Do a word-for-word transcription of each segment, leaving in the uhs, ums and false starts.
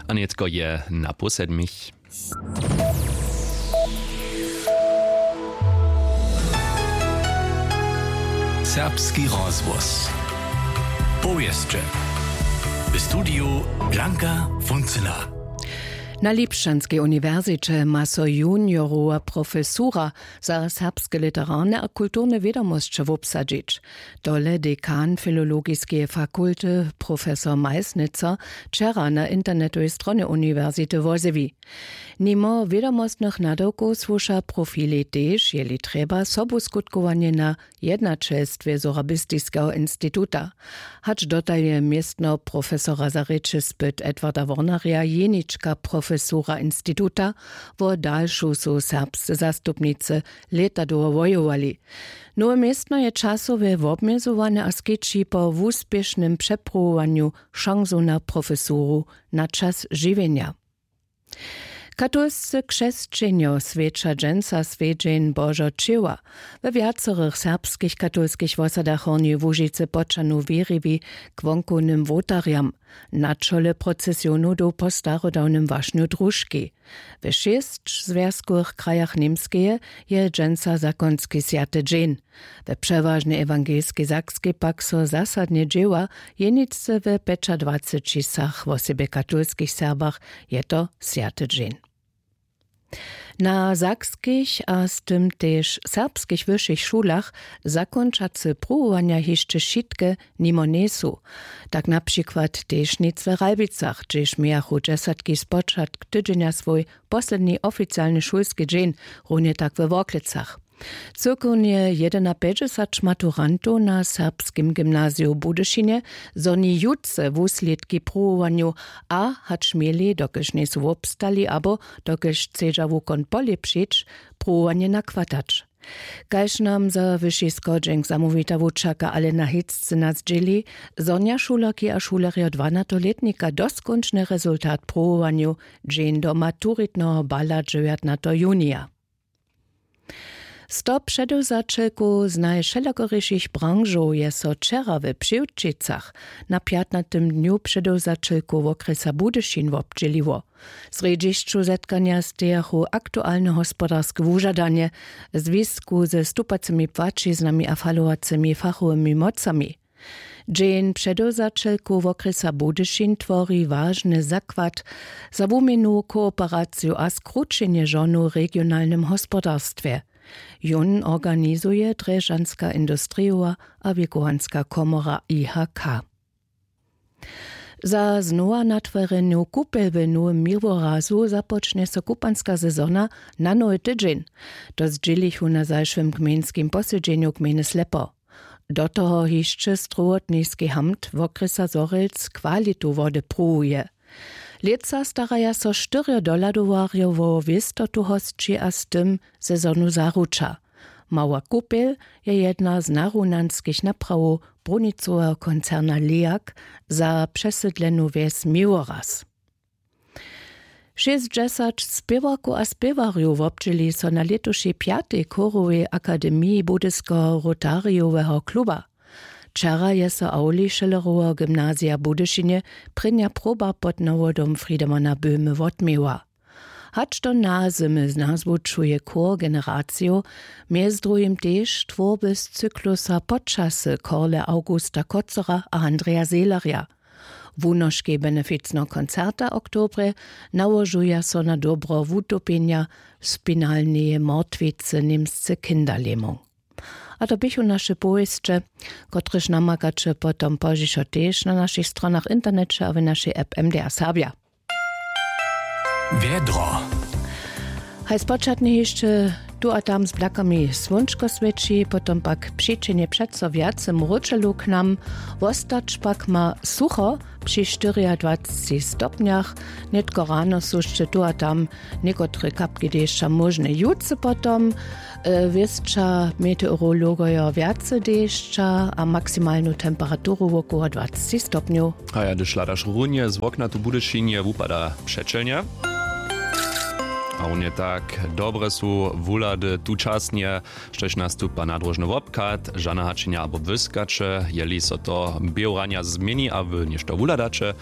A nětko je na pół sedmich. Serbski rozhłos. Powěsće. W studiju Blanka Funcyna. Na Lipšćanskej uniwersiće ma so juniorowa profesura za serbske literarne a kulturne wědomosće wobsadźić. Tole dekan filologiskeje fakulty, profesor Meisnitzer, wčera na internetowej stronje uniwersity wozjewi. Nimo wědomostnych nadawkow słuša profilej tež, jeli trjeba, sobuskutkowanjena jednaćelstwje Sorabistiskeho instituta. Hač dotal je městno profesora za rěče spyt Edwarda Wornerja jenička profesura instituta, wo dalšu su serbsce zastupnicy lěta dołho wojowali. Nowe městno je časowje wobmjezowane a skeći po wuspěšnym přepruwowanju šansu na profesuru na čas žiwjenja. Katolscy křesćenjo swjeća dźensa swjedźeń Božo ćěła. We wjacorych serbskich katolskich wosadach Hornjeje Łužicy počanu wěriwi k wonkownym wołtarjam. Na čole procesionu doł po starodawnym wašnju družki. We šěsć zwjazkowych krajach Němskeje je dźensa zakonski swjaty dźeń. We přewažnej ewangelskej Sakskej pak so zasadnje dźěła, jeničce we pjećadwacećisach, wosebje katolskich Serbach, je to swjaty dźeń. Na sakskich a z tym tež serbskich wyšich šulach zakónčace pruwowanja hišće wšitke nimo njejsu. Tak na přikład tež nic we Ralbicach, hdźež mějachu dźesatki spočatk tydźenja swój posledni oficialny šulski dźeń, runje tak we Worklecach. Cyłkownje jedynapjećdźesat maturantow na Serbskim gymnaziju w Budyšinje zhoni jutře wuslědki pruwowanjow a hač měli, dokelž njejsu wobstali abo dokelž chcedźa wukon polěpšić, pruwowanje nakwatać. Kaž nam za wyši schodźenk zamołwita wučerka Alena Hitzcyna zdźěli, zhonja šulerki a šulerjo dwanatolětnika doskónčny rezultat pruwowanjow dźeń do maturitneho bala dźewjatnateho junija. Sto předewzaćelkow z najwšelakorišich branžow je so wčera we Přiwčicach na pjatnatym dnju předewzaćelkow wokrjesa Budyšin wobdźěliło. W srjedźišću zetkanja stejachu aktualne hospodarske wužadanje w zwisku ze stupacymi płaćiznami a falowacymi fachowymi mocami. Dźeń předewzaćelkow wokrjesa Budyšin twori wažny zakład za wuměnu, kooperaciju a skrućenje žonow w regionalnym hospodarstwje. Jón organizuje Drježdźanska industrijowa a wěkowanska komora I H K. Za znowa natworjenu kupel w Nowym Miłorazu započnje so kupanska sezona na nowy tydźeń. To zdźělichu na zašłym gmejnskim posedźenju gmejny Slepo. Do toho hišće strowotniski hamt wokrjesa Zhorjelc kwalitu wody pruwuje. Lětsa staraja so štyrjo dohladowarjo wo wěstotu hosći a z tym sezonu zaruča. Mała kupel je jedna z narunanskich naprawow brunicoweho koncerna Leak za přesydlenu wjes Miłoraz. Šěsćdźesać spěwarkow a spěwarjow wobdźěli so na lětušej pjatej chórowej akademiji Budyskeho rotarijoweho kluba. Wčera je so awli Schilleroweho gymnazija w Budyšinje prěnja proba pod nawodom Friedemana Böhme wotměła. Hač do nazymy nazwučuje chór generacijow, mjez druhim tež twórby z cyklusa Počasy Korle Augusta Kocera a Andreja Seelerja. Wunoškej beneficneho koncerta oktobrje nałožuja so na dobro wutopjenja spinalneje mortwicy němsce Kinderlähmung. A to běchu naše powěsće, kotrež namakaće potom pozdźišo tež na našich stronach w interneće a w našej app M D R Serbja. Wjedro. Haj spočatnje hišće tu a tam z blakami słónčko swěći, potom pak přićehnje přeco wjace mróčelu k nam. Wostać pak ma sucho při štyriadwacci stopnjach. Nětko rano su hišće tu a tam někotre kapki dešća móžne. Jutře potom e, wěsća meteorologojo wjace dešća a maksimalnu temperaturu wokoło dwaceći stopnjow. A ja, hdyž hladaš runje z wokna tu w Budyšinje, wupada přećelnje. A runje tak dobre su wuhlady tučasnje, štož nastupa nadróžny wobchad, žana hačenja abo błyskaće, jeli so to běhu ranja změni a wy něšto wuhladaće,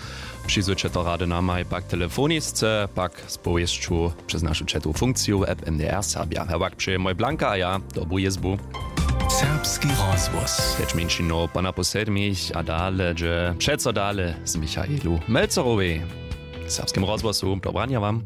přizwyće to rady namaj pak telefonisce, pak z powěsću přez našu četowu funkciju w app M D R Serbja. Hewak přeje mój Blanka a ja dobru jězbu. Serbski rozhłos. Pjeć mjeńšinow po napoł sedmich a dale dźe přeco dale z Michaelu Melcerowej. W Serbskim rozhłosu dobranja wam.